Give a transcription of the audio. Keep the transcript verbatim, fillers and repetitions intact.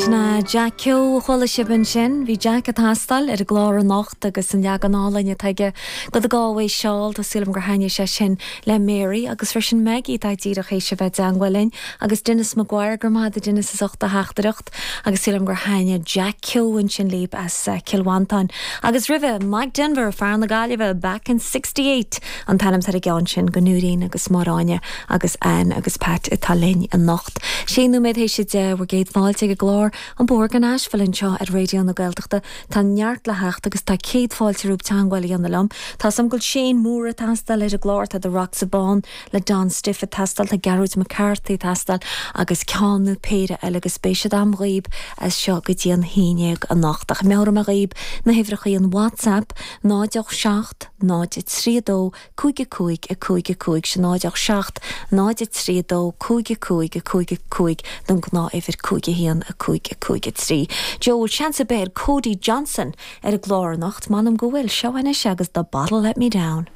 Sin Jack Keogh a chuala sibh ansin, bhí Jack ag teastáil ar an gclár anocht agus an leagan álainn atá aige de The Galway Shawl tá súil agam gur thaitnigh sé sin le Mary agus freisin Maggie tá díreach théis a bheith i dteagmháil linn agus Dennis Maguire go raibh maith agat Dennis as ucht do theachtaireacht agus súil agam gur thaitnigh Jack Keogh ansin libh as uh, Cill Mhantáin. Agus roimhe Mike Denver fear na Gaillimhe back in sixty-eight an t-ainm ar an gceann sin do Nóirín agus Máráine agus Ann agus Pat atá linn anocht. Sé nóiméad théis a deich bhur gcéad fáilte ag an gclár An Bóthar go Nashville anseo ar Raidió na Gaeltachta tá neart le theacht agus tá céad fáilte romhaibh teagmháil a dhéanamh liom. Tá sam go Shane Moore ag teastáil ar an gclár tá The Rocks Bán le Don Stiffe ag teastáil tá Gearóid McCarthy ag teastáil agus ceann nó péire eile agus beidh siad agam dhaoibh as seo go dtí an haon déag anocht ach meabhróidh mé dhaoibh na huimhreacha an WhatsApp náid seacht náid trí dó cúig cúig a cúig cúig sin náid seacht náid trí dó cúig cúig cúig cúig don ghnáth-uimhir cúig haon a cúig cúig trí. Joe seans ar Cody Johnson ar an gclár anocht m'anam go bhfuil seo anois agus The Bottle Let Me Down.